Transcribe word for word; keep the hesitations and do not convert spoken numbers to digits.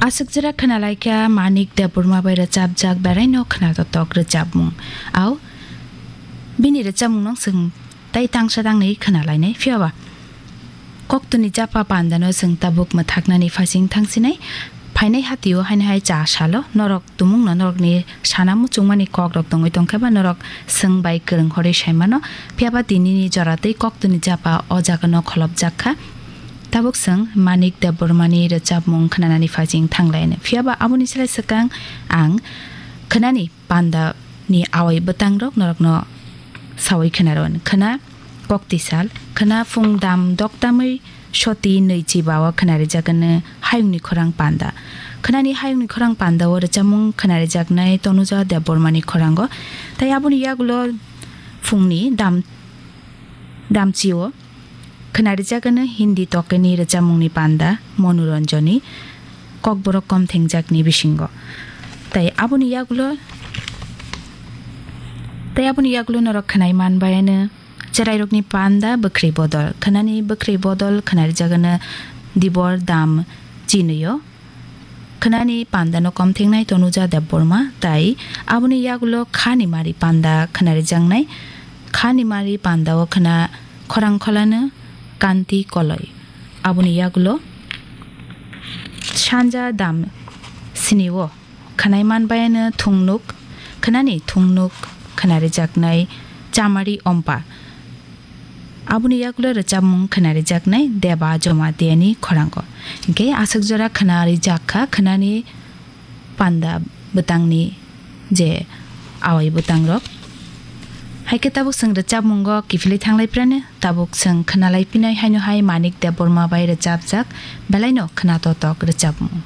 Aswk jora khwnalaikha Manik Debbarma bai rwchapjak beraino khwnatotok rwchapmung. Au, bini rwchapmungno chwng tei tangsa tangni khwnalainai. Phiyaba koktwni japa pandano chwng tabuk mwthaknani phaising thangsinai. Phainai hatio haino hai cha salo norok tumungno norokni sana muchungmani kokrok tongwi tongkhe ba norok chwng bai kwrwng horwi saimano. Phiyaba tinini jora tei koktwni japa o jagano kholopjak kha. Tabuk chwng Manik Debbarmani rwchapmung khwnanani phaising thanglainai. Phiyaba aboni slai swkang ang khwnani pandani awai bwtangrok norokno sawi khwnaro. Khwna koktisal, khwna phung dam doktamwi soti nwichi bao khwnarijakgwno hayungni khorang panda. Khwnani hayungni khorang pandao rwchapmung khwnarijaknai Tonuja Debbarmani khorango. Tei aboni yagulo phungni dam, damchio khwnarijakgwno Hindi tokeni rwchapmungni panda Monu Ranjani Kokborok Komthengjakni bisingo. Tei aboni yagulo, tei aboni yagulo norok khwnai manbayano cherairokni panda Bwkhri Bodol. Khwnani Bwkhri Bodol khwnarijakgwno Dibor Dam Chinwi-o. Khwnani pandano komthengnai Tonuja Debbarma, tei aboni yagulo khani mari panda khwnarijaknai. Khani mari pandao khwna khorang kholano Kanti Koloi. Aboni yagulo sanja dam sini-o khwnai manbayano thungnuk, khwnani thungnuk khwnarijaknai Chamari Ompa. Aboni yagulo rwchapmung khwnarijaknai Deba Jomatiani khorango. Hinkhe aswk jora khwnarijakha khwnani panda bwtangni je awai bwtangrok. Haikhe tabuk chwng rwchapmungo kiphilwi thanglai prano, tabuk chwng khwnalai pinai haino hai Manik Debbarma bai rwchapjak belaino khwnatotok rwchapmung.